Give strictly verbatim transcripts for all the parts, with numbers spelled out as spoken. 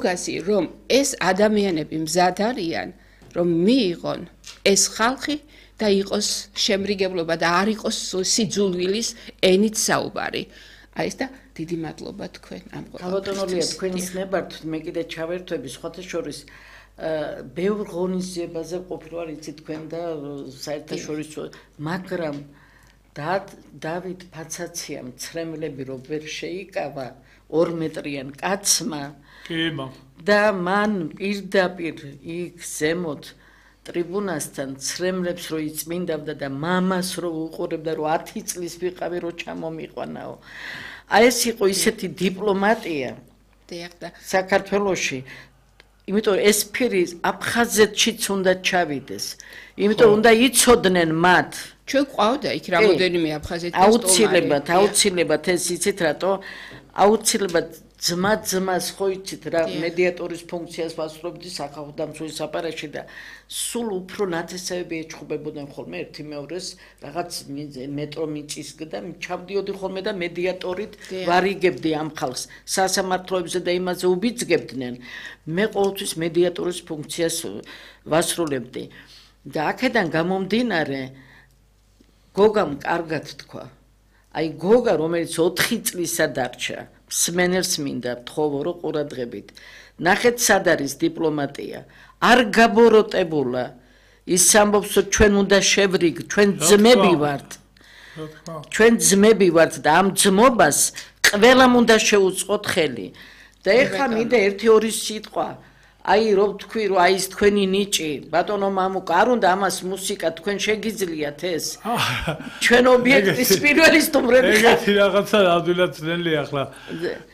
გასი რომ ეს ადამიანები მზად არიან რომ მიიღონ ეს ხალხი და იყოს შემრიგებლობა და არ იყოს სიძულვილის ენით საუბარი. აი ეს და დიდი მადლობა თქვენ ამ ყოველდღიურია თქვენის ნებართ მე კიდე ჩავერთვები სხვათა შორის ბევრ ღონისძიებაზე ყოფილვარ იცი თქვენ და საერთაშორისო მაგრამ დავით ფაცაციამ ცრემლები რო ვერ შეიკავა ორ მეტრიან კაცმა და მან პირდაპირ იქ ზემოთ ტრიბუნასთან ცრემლებს რო იწმინდავდა და მამას რო უყურებდა რომ ათი წლის ვიყავი რო ჩამომიყვანაო აი ეს იყო ისეთი დიპლომატია საქართველოში იმიტომ ეს ფირი აფხაზეთშიც უნდა ჩავიდეს იმიტომ უნდა იცოდნენ მათ ჩვენ ყავდა იქ რამოდენიმე აფხაზეთის აუცილებლად აუცილებლად ეს იცით რატო აუცილებლად ძმა ძმას ხო იცით რა მედიატორის ფუნქციას ვასრულებდი სახალხო დამცველის აპარატში და სულ უფრო ნათესავები ეჩხუბებოდნენ ხოლმე ერთი მეორეს რაღაც მეტრო მიწისგდა ჩავდიოდი ხოლმე და მედიატორით ვარიგებდი ამ ხალხს სასამართლოებზე და იმაზე უბიძგებდნენ მე ყოველთვის მედიატორის ფუნქციას ვასრულებდი და აქედან გამომდინარე გოგამ კარგად თქვა აი გოგა რომელიც ოთხი წლისა დარჩა სმენელს მინდა თხოვო რომ ყურადღებით ნახეთ სად არის დიპლომატია არ გაბოროტებულა ის ამბობს რომ ჩვენ უნდა შევრიგ ჩვენ ძმები ვართ ჩვენ ძმები ვართ და ამ ძმობას ყველამ უნდა შეუწყოთ ხელი და ეხლა მინდა ერთი ორი სიტყვა აი რომ თქვი რომ აი ეს თქვენი ნიჭი ბატონო მამუკა არ უნდა ამას მუსიკა თქვენ შეგიძლიათ ეს ჩვენ ობიექტის პირველი სტუმრები ეგეთი რაღაცა ადვილად ძნელი ახლა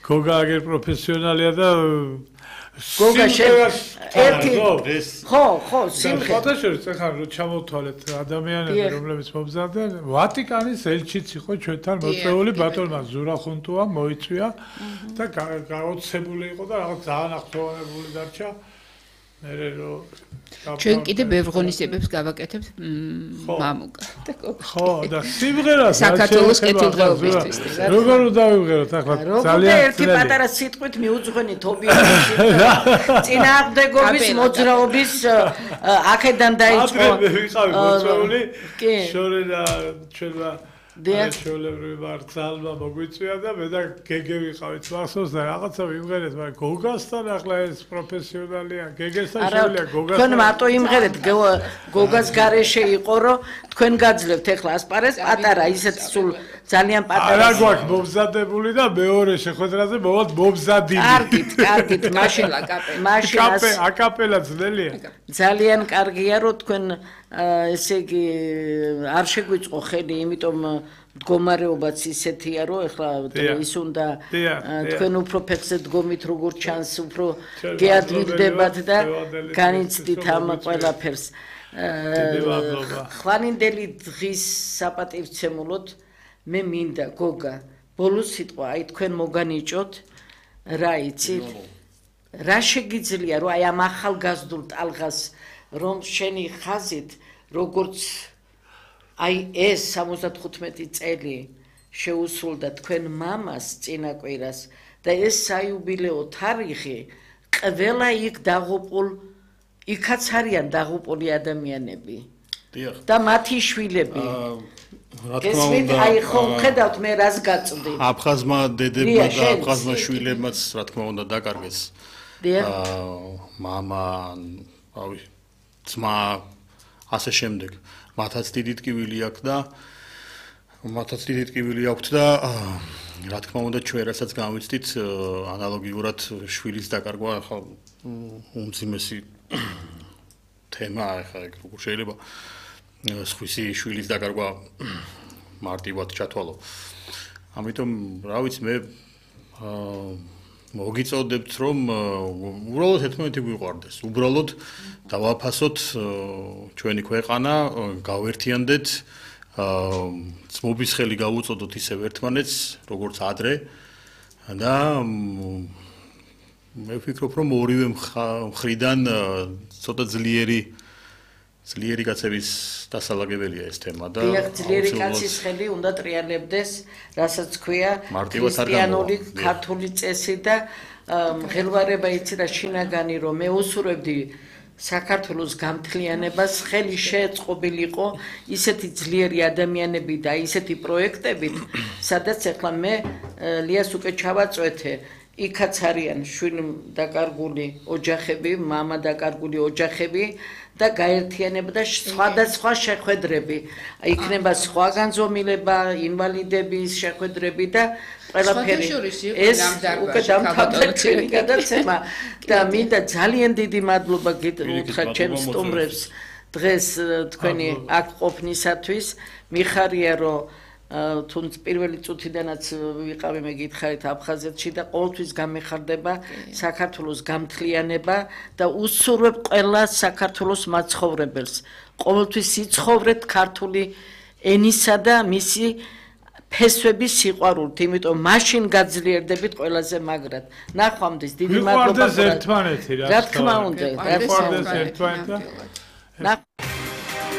გოგა აგერ პროფესიონალია და გოგა ერთი ხო ხო სიმღერა ფოტოშოპს ახლა რო ჩამოვთვალეთ ადამიანები რომლებიც მომზადდნენ ვატიკანის ელჩიც იყო ჩვენთან მოწვეული ბატონმა ზურახუნტუა მოიწვია და გაოცებული იყო და რაღაც ძალიან ახტოვანებული დარჩა მერე რო ჩვენ კიდე ბევრ ღონისძიებებს გავაკეთებთ მამუკა და გოგა ხო და სიმღერა საქართველოს კეთილდღეობისთვის როგორ დავიღეროთ ახლა ძალიან ერთი პატარა სიტყვით მიუძღვენით ობიექტის წინააღმდეგობის მოძრაობის აქედან დაიწყო მე ვიყავი მოწვეული შორე და ჩვენმა ჩვეულებრივი მარცალმა მოგვიწვია და მე და გეგე ვიყავით მახსოვს და რაღაცა ვიმღერეთ მაგრამ გოგასთან ახლა ეს პროფესიონალია გეგესთან შეუძლია გოგასთან თქვენ მარტო იმღერეთ გოგას გარეშე იყო რომ თქვენ გაძლევთ ახლა ასპარეს პატარა ისეთ სულ ძალიან პატარა არა გვაქვს მომზადებული და მეორე შეხვედრაზე მოვალთ მომზადილი კარგით კარგით მაშინ მაშინ აკაპელა ძნელია ძალიან კარგია რომ თქვენ ესე იგი არ შეგვიწყო ხელი იმიტომ მდგომარეობაც ისეთია რომ ეხლა ის უნდა თქვენ უფრო ფეხზე დგომით როგორ ჩანს უფრო გეადმიგდებათ და განიცდით ამ ყველაფერს ხვალინდელი დღის საპატივცემულოდ მე მინდა გოგა ბოლო სიტყვა აი თქვენ მოგანიჭოთ რა იცით რა შეგიძლია რომ აი ამ ახალგაზრდულ ტალღას რომ შენი ხაზით როგორც აი ეს სამოცდათხუთმეტი წელი შეუსრულდა თქვენ მამას წინაკვირას და ეს საიუბილეო თარიღი ყველა იქ დაღუპულ იქაც არიან დაღუპული ადამიანები და მათი შვილები რა თქმა უნდა აი ხომ ხედავთ მე რას გაწვდი აფხაზმა დედებმა და აფხაზმა შვილებმაც რა თქმა უნდა დაკარგეს მამა რავი ძმა ასე შემდეგ მათაც დიდი ტკივილი აქვს და მათაც დიდი ტკივილი აქვს და რა თქმა უნდა ჩვენ რასაც გავიცდით ანალოგიურად შვილის დაკარგვა ახლა უმძიმესი თემა ახლა როგორ შეიძლება სხვისი შვილის დაკარგვა მარტივად ჩათვალო ამიტომ რა ვიცი მე მოგიწოდებთ რომ უბრალოდ ერთმანეთი გვიყვარდეს უბრალოდ დავაფასოთ ჩვენი ქვეყანა გავერთიანდეთ ძმობის ხელი გავუწოდოთ ისევ ერთმანეთს როგორც ადრე და მე ვფიქრობ რომ ორივე მხრიდან ცოტა ძლიერი ძლიერი კაცების დასალაგებელია ეს თემა და დიახ, ძლიერი კაცის ხელი უნდა ტრიალებდეს, რასაც ქვია ქრისტიანული ქართული წესი და მღელვარება იცი რა შინაგანი რომ მე უსურვებდი საქართველოს გამთლიანებას, ხელი შეეწყობილიყო ისეთი ძლიერი ადამიანები და ისეთი პროექტებით, სადაც ახლა მე ლიას უკვე ჩავაწვეთე იქაც არიან შვილი დაკარგული ოჯახები, მამა დაკარგული ოჯახები და გაერთიანება და სხვადასხვა შეხვედრები. იქნება სხვა განზომილება, ინვალიდების შეხვედრები და ყველაფერი. ეს უკვე დამთავრდა ჩვენი გადაცემა და მინდა ძალიან დიდი მადლობა გითხრათ ჩემს სტუმრებს დღეს თქვენი აქ ყოფნისათვის. მიხარია რომ თუნდაც პირველი წუთიდანაც ვიყავი მე გითხარით აფხაზეთში და ყოველთვის გამეხარდება საქართველოს გამთლიანება და უსურვებ ყველა საქართველოს მაცხოვრებელს. ყოველთვის იცხოვრეთ ქართული ენისა და მისი ფესვების სიყვარულით, იმიტომ მაშინ გაძლიერდებით ყველაზე მაგრად. ნახვამდის, დიდი მადლობა. ვიყვარდეს ერთმანეთი, რა თქმა უნდა, ვიყვარდეს ერთმანეთი.